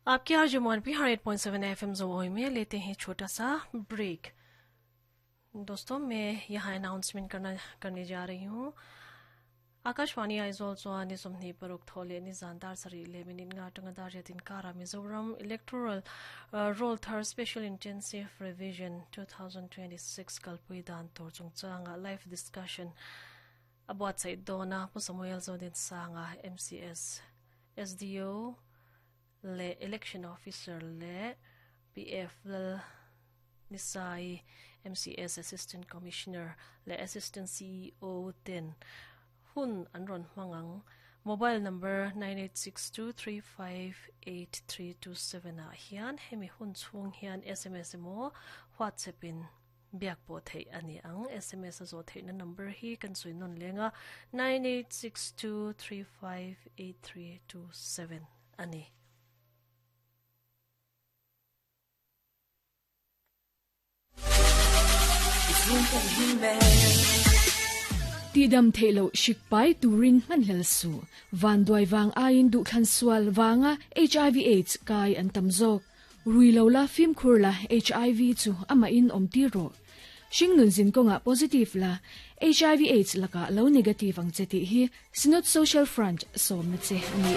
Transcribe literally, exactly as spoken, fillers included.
आपकी R J Mohan P eight point seven F M जो में लेते हैं छोटा सा ब्रेक। दोस्तों, मैं यहाँ अनाउंसमेंट करना करने जा रही हूँ। Akashvani Aizawl chuan ni sawmhnih paruk thaw leh ni zan dar sarih leh minute nga atanga dar riatin kara Mizoram Electoral Roll Thar Special Intensive Revision two thousand twenty-six kalpui dan tur chungchanga live discussion a buatsaih dawna Pu Samuel Zodin Sanga M C S S D O leh Election Officer leh P F Lal Nisai M C S Assistant Commissioner leh Assistant C E O ten hun an rawn hmangang mobile number nine eight six two three five eight three two seven ah hian hemi hun chhung hian S M S emaw WhatsApp in biak pawh theih ani ang. S M S a zawh theihna number hi kan sawi nawn lenga nine eight six two three five eight three two seven ani. Ti dam theilo shikpai turin man hel su van duai wang ain du khan sual wanga H I V AIDS kai an tamzok rui lo la phim khur la H I V chu ama in om ti ro shingnun zin konga positive la H I V AIDS laka lo negative ang cheti hi Synod Social Front som na che ani.